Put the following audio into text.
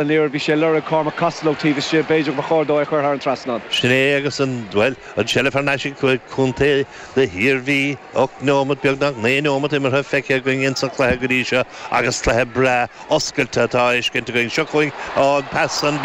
An liathróid, bhí sé ag lorg Cormac Costello taobh istigh, b'fhéidir ba chóir dó é a chur thar an trasnán. Sin é agus an, bhuel, an tseilbh thar n-ais ag contae na hIarmhí. 8 neomat, beagnach 9 neomat imeartha feicthe againn ins an chluiche go dtí seo agus cluiche breá oscailte atá á fheiscint againn. Seo chugainn an pas an.